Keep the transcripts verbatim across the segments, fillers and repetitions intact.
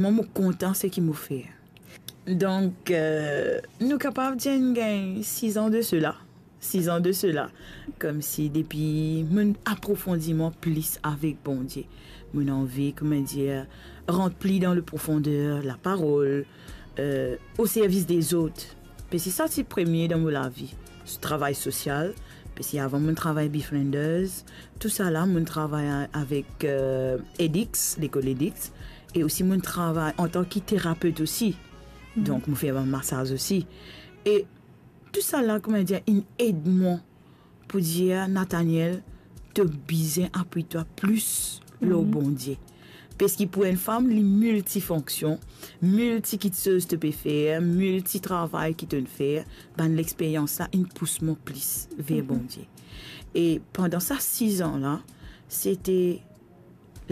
Mwa, mo kontan seki mo fer. Donk, euh, nou kapav dir inn gagn sis an de sela. Sis an de sela. Koumsi depi mo'nn aprofondi mwa plis avek Bondie. Mo'nn anvi, kouma dir, rant pli dan le profonder laparol, euh, o servis dezot. Parski sa ti premie dan mo lavi. Travay sosial, parski avan mo'nn travay Befrienders, tousala, mo'nn travay a-, avek, euh, Edix, lekol Edix, e osi mo'nn travay antan ki terapet osi. Donk, mo fer bann masaz osi. E tousala, kouma dir, inn ed mwa pou dir, Nathaniel, to bizin apwi twa plis lor Bondie. Parski pou enn fam, li miltifonksion, milti kitsoz to pe fer, milti travay ki to'nn fer, bann lexperyans la inn pous mwa plis ver Bondie. E pandan sa sis an la, sete,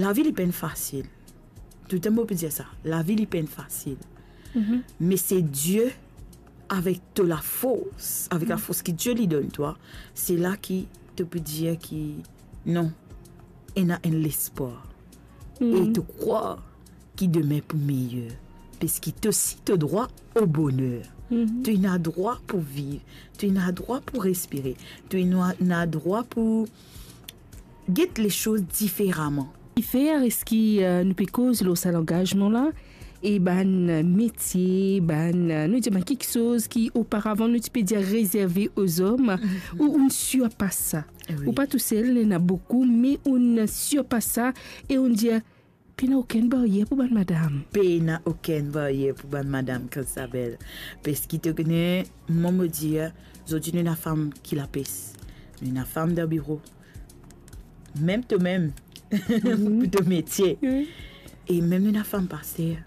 lavi li pa'nn fasil. Toultan mo pe dir sa, lavi li pa'nn fasil. Me se Die avek to lafors, avek lafors ki Die li donn twa, se la ki to pe dir ki non, ena enn lespwar. E to krwar ki demin pou meyer. Parski to osi to drwa o boner. To ena drwa pou viv. To ena drwa pou respire. To ena, ena drwa pou get lesoz diferaman. Kifer eski, euh, nou pe koz lor sa langazman la? E bann, euh, metie, bann, euh, nou dir bann kiksoz ki oparavan nou ti pe dir rezerve o zom, ou, ou'nn sirpas sa. Wi. Ou pa tousel, ena boukou, me ou'nn sirpas sa, e ou'nn dir, pena okenn baryer pou bann madam. Pena okenn baryer pou bann madam, Christabel. Parski to kone, mwa mo dir, zordi nou ena fam ki lapes. Nou ena fam dan biro. Mem to mem, pou to metie. Wi. E mem nou ena fam paster.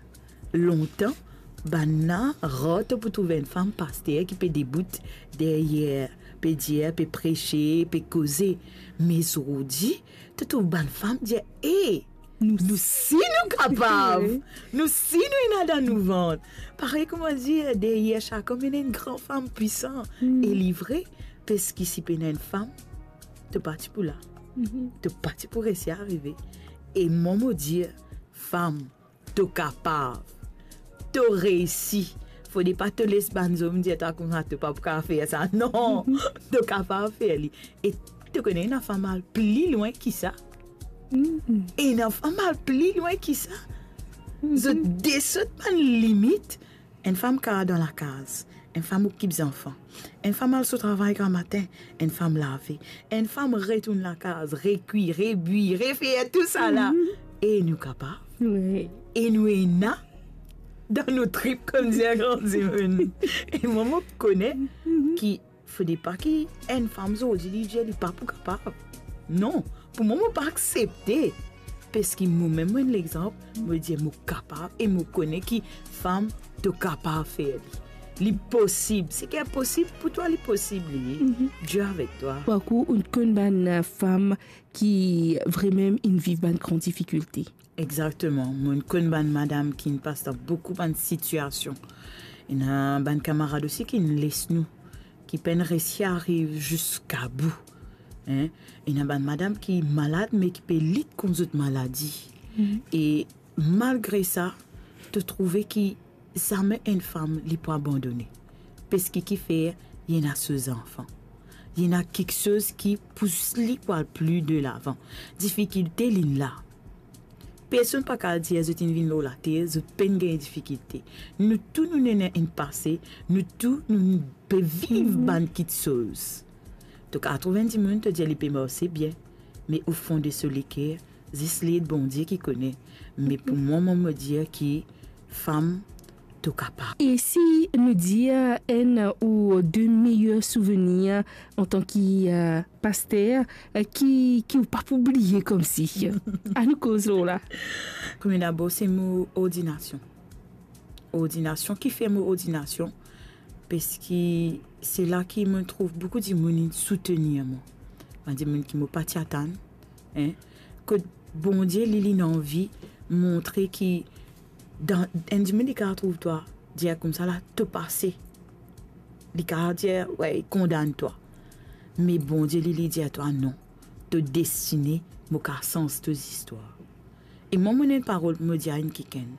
Lontan, bann la, rar to pou trouv enn fam paster ki pe debout deryer, pe dir, pe prese, pe koze. Me zordi, to trouv bann fam dir, "E, nou, nou si nou kapav. Wi. Nou si nou ena dan nou vant." Parey kouma dir, deryer sak om ena enn gran fam pwisan. E li vre, parski si pena enn fam, to pa ti pou la. To pa ti pou resi arive. E mwa mo dir, fam, to kapav. To reisi. Fode pa to les bann zom dir twa koumsa to pa pou kapav fer sa. Non, to kapav fer li. E to kone ena fam al pli lwin ki sa. Ena fam al pli lwin ki sa. Zot desot bann limit. Enn fam kapav dan lakaz, enn fam okip zanfan, enn fam al so travay gramatin, enn fam lave, enn fam retourn lakaz, rekwi, rebwi, refer tousala. E nou kapav. Wi. E nou ena dan nou trip, kouma dir gran dimoun. E mwa, mo kone ki fode pa ki enn fam zordi li dir li pa pou kapav. Non, pou mwa, mo pa aksepte. Parski mo mem, mo enn lexanp, mo dir mo kapav e mo kone ki fam, to kapav fer li. Li posib. Seki inposib, pou twa li posib li. Die avek twa. Parkour, ou'nn konn bann, euh, fam ki vremem inn viv bann gran difikilte. Exakteman. Mo'nn konn bann madam ki'nn pas dan boukou bann sitiasion. Ena bann kamarad osi ki'nn les nou, ki pa'nn resi ariv ziska bou. Hein? Ena bann madam ki malad, me ki pe lit kont zot maladi. E malgre sa, to trouve ki zame enn fam li pou abandone. Parski kifer, li ena so zanfan. Li ena kiksoz ki pous li pou al pli delavan. Difikilte, li'nn la. Personn pa kapav dir zot inn vinn lor later, zot pa'nn gagn difikilte. Nou tou, nou ena enn pase, nou tou, nou pe viv bann kiksoz. To kapav trouv enn dimoun, to dir li pe marse bien, me o fon de so leker, zis li e Bondie ki kone. Me pou mwa, mo, mo dir ki fam, to kapav. E si nou dir enn ou de meyer souvenir antan ki, euh, paster, euh, ki, ki ou pa pou bliye koumsi? Anou koz lor la. Premie dabor, se mo ordinasion. Ordinasion, kifer mo ordinasion? Parski se la ki mo trouv boukou dimoun inn soutenir mwa. Bann dimoun ki mo pa ti atann, hein, kot Bondie, li, li'nn anvi montre ki dan enn dimoun, li kapav trouv twa, dir koumsa la, to pase. Li kapav dir, we, kondann twa. Me Bondie, li, li dir twa, non, to destine, mo kapav sanz to zistwar. E mwa, mo ena enn parol pou mo dir a enn kikenn.